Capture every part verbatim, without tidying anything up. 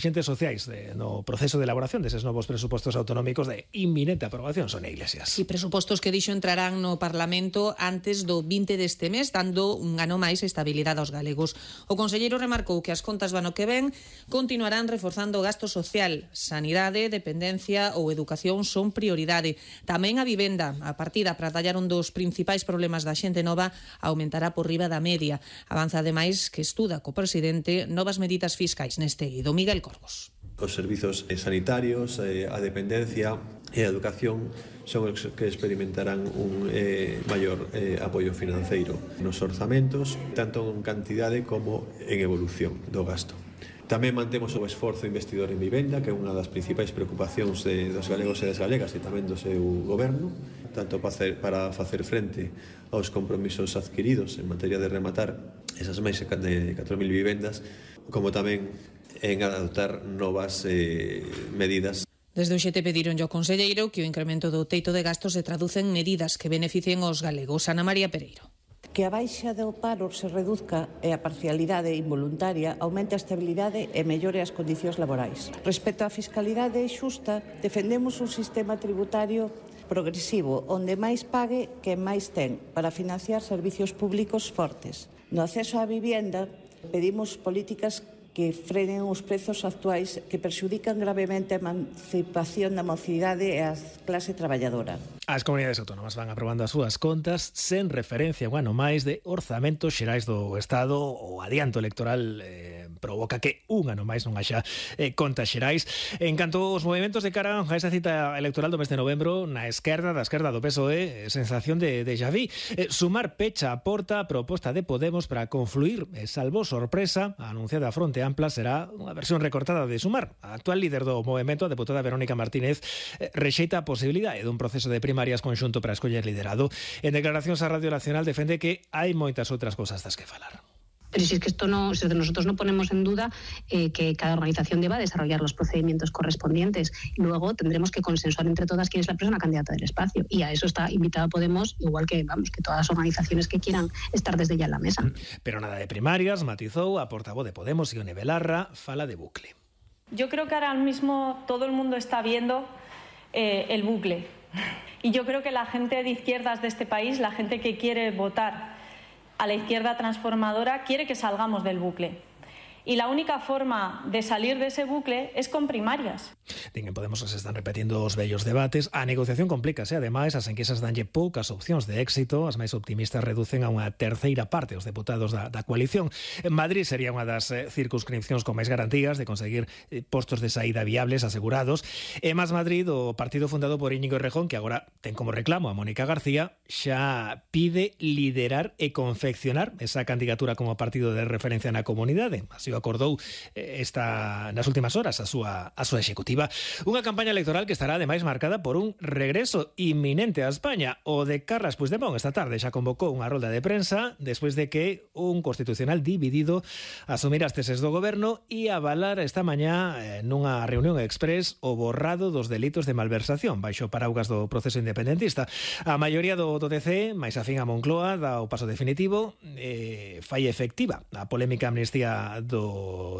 Xentes sociais de, no proceso de elaboración deses novos presupostos autonómicos de inminente aprobación, Sonia Iglesias. Si presupostos que dixo entrarán no Parlamento antes do vinte deste mes, dando un ano máis estabilidade aos galegos. O conselleiro remarcou que as contas do ano que ven continuarán reforzando o gasto social, sanidade, dependencia ou educación son prioridade. Tamén a vivenda, a partida para tallar un dos principais problemas da xente nova, aumentará por riba da media. Avanza ademais que estuda co presidente novas medidas fiscais neste eido. Miguel Corgos. Os servizos sanitarios, a dependencia e a educación son os que experimentarán un eh, maior eh, apoio financeiro nos orzamentos, tanto en cantidade como en evolución do gasto. Tamén mantemos o esforzo investidor en vivenda, que é unha das principais preocupacións de, dos galegos e das galegas e tamén do seu goberno, tanto para facer, para facer frente aos compromisos adquiridos en materia de rematar esas máis de catro mil vivendas, como tamén en adoptar novas eh, medidas. Desde o X T pedironlle ao conselleiro que o incremento do teito de gastos se traduce en medidas que beneficien aos galegos. Ana María Pereiro. Que a baixa do paro se reduzca e a parcialidade involuntaria aumente a estabilidade e mellore as condicións laborais. Respecto á fiscalidade xusta, defendemos un sistema tributario progresivo, onde máis pague quen máis ten, para financiar servicios públicos fortes. No acceso á vivenda, pedimos políticas que frenen os prezos actuais que perxudican gravemente a emancipación da mocidade e a clase traballadora. As comunidades autónomas van aprobando as súas contas sen referencia a un ano máis de orzamentos xerais do Estado. O adianto electoral eh, provoca que un ano máis non haxa eh, contas xerais. En canto aos movimentos de cara a esa cita electoral do mes de novembro, na esquerda, da esquerda do P S O E, sensación de déjà vu. Eh, sumar pecha a porta a proposta de Podemos para confluir, eh, salvo sorpresa, a anunciada fronte ampla será unha versión recortada de Sumar. A actual líder do movemento, a deputada Verónica Martínez, eh, rexeita a posibilidade dun proceso de primarias conxunto para escoller liderado. En declaracións á Radio Nacional defende que hai moitas outras cosas das que falar. Pero si es que esto no, si nosotros no ponemos en duda eh, que cada organización deba desarrollar los procedimientos correspondientes. Y luego tendremos que consensuar entre todas quién es la persona candidata del espacio. Y a eso está invitada Podemos, igual que vamos que todas las organizaciones que quieran estar desde ya en la mesa. Pero nada de primarias, matizou a portavoz de Podemos, Ione Belarra, fala de bucle. Yo creo que ahora mismo todo el mundo está viendo eh, el bucle. Y yo creo que la gente de izquierdas de este país, la gente que quiere votar a la izquierda transformadora, quiere que salgamos del bucle. Y la única forma de salir de ese bucle es con primarias. Din en Podemos que se están repetindo os vellos debates. A negociación complícase, ademais, as enquisas danlle poucas opcións de éxito. As máis optimistas reducen a unha terceira parte os deputados da, da coalición. En Madrid sería unha das eh, circunscripcións con máis garantías de conseguir eh, postos de saída viables asegurados. E Más Madrid, o partido fundado por Íñigo Errejón, que agora ten como reclamo a Mónica García, xa pide liderar e confeccionar esa candidatura como partido de referencia na comunidade. Así o acordou esta nas últimas horas a súa a súa executiva. Unha campaña electoral que estará ademais marcada por un regreso inminente a España. O de Carles Puigdemont esta tarde xa convocou unha rolda de prensa despois de que un constitucional dividido asumira as teses do goberno e avalar esta mañá eh, nunha reunión express o borrado dos delitos de malversación baixo paraugas do proceso independentista. A maioría do, do D C, máis afín a Moncloa, dá o paso definitivo, eh, fai efectiva a polémica amnistía do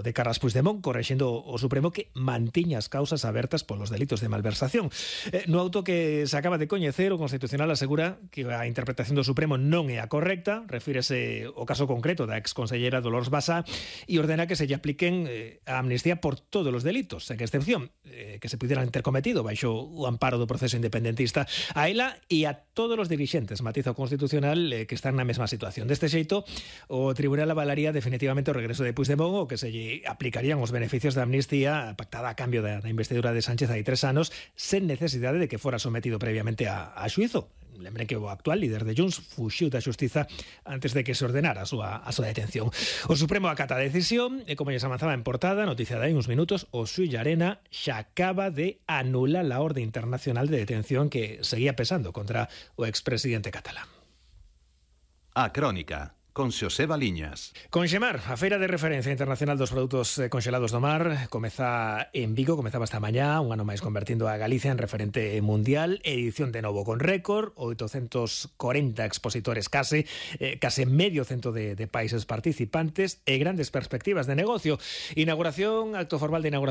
de Carles Puigdemont, correxendo o Supremo que mantiña as causas abertas polos delitos de malversación. Eh, no auto que se acaba de coñecer, o Constitucional asegura que a interpretación do Supremo non é a correcta, refírese ao caso concreto da exconsellera Dolors Basa e ordena que se lle apliquen eh, a amnistía por todos os delitos, sen excepción, eh, que se pudieran ter cometido baixo o amparo do proceso independentista. A ela e a todos os dirixentes, matiza o Constitucional, eh, que están na mesma situación. Deste xeito, o Tribunal avalaría definitivamente o regreso de Puigdemont, o que se lle aplicarían os beneficios da amnistía pactada a cambio da, da investidura de Sánchez hai tres anos, sen necesidade de que fora sometido previamente a, a xuizo. Lembren que o actual líder de Junts fuxiu da xustiza antes de que se ordenara a súa, a súa detención. O Supremo acata a decisión e, como lles avanzaba en portada, noticia de hai uns minutos, o Sui Llarena xa acaba de anular a orde internacional de detención que seguía pesando contra o expresidente catalán. A Crónica, con Xosé Baliñas. Conxemar, a feira de referencia internacional dos produtos congelados do mar, comeza en Vigo, comezaba esta mañá, un ano máis convertindo a Galicia en referente mundial, edición de novo con récord, oitocentos corenta expositores case, eh, case medio cento de, de países participantes e grandes perspectivas de negocio. Inauguración, acto formal de inauguración